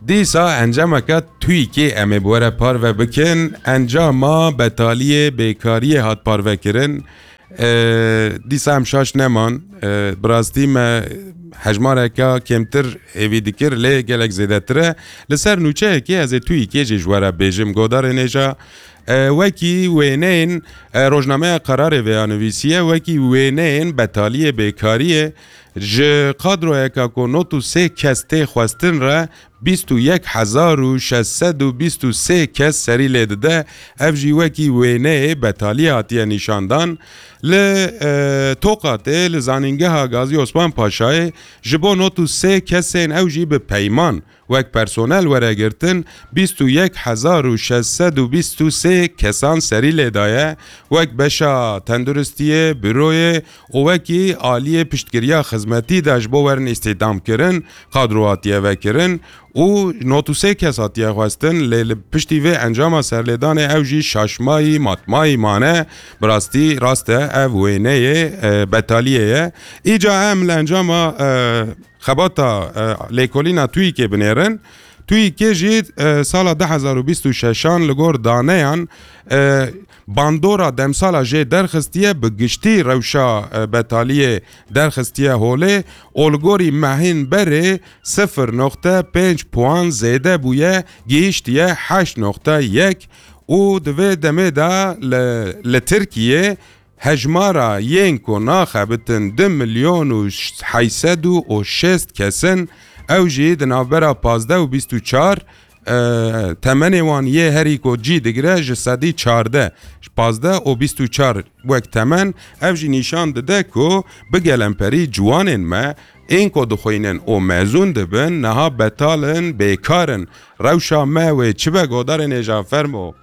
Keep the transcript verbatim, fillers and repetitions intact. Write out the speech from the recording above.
Dîsa encameke TÜİKê em ê bi we re parve bikin. Encama betaliyê bêkariyê hat parvekirin. E, dîsa em şaş neman. E, bi rastî me hejmareka kêmtir hêvî dikir, lê gelek zêdetir e. Li ser nûçeyekê ez ê TÜİKê jî ji we re bêjim. Godarên hêja, e, wekî wêneyên, e, rojnameya Qerarê vêya nivîsiye, wekî wêneyên betaliyê bêkariyê ji kadroyeka ku nod û sê kes tê xwestin re bîst û yek hezar û şeş sed û bîst û sê kes serî lê dide. Ev jî wekî wêneyê betaliyê hatiye nîşandan. Li, e, Toqatê, li Zanîngeha Gazî Osman Paşayê ji bo nod û sê kesên ew jî bi peyman wek personel were girtin, bîst û yek hezar û şeş sed û bîst û sê kesan serî lê daye, wek beşa tenduristiyê, büroyê û wekî aliyê piştgiriya xizmetî de ji bo werin îstîhdamkirin, kadro hatiye vekirin û nod û sê kes hatiye xwestin, lê li piştî vê encama serlêdanê ew jî şaşmayî, matmayî mane. Bi rastî rast e, ev wêneyê, e, betaliyê ye. Îca em li encama, e, xebata, e, lêkolîna TÜİKê binêrin. TÜİKê jî, e, sala du hezar û bîst û şeşan li gor daneyan, e, bandora demsala jê derxistiye, bi giştî rewşa, e, betaliyê derxistiye holê û li gorî mehên berê sifir noqte pênc puan zêde bûye, gihîştiye heşt noqte yek û di vê demê de li, li Tirkiyê hejmara yên ku naxebitin du milyon û heyt sed û şêst kes in, ew jî di navbera pazdeh û bîst û çar, e, temenê wan yê herî ku cî digire ji sedî çardeh, pazdeh û bîst û çar wek temen, ev jî nîşan dide ku bi gelemperî ciwanên me ên ku dixwînin û mezûn dibin, niha betal in, bêkar in. Rewşa me wê çi be, godarên hêja, fermo.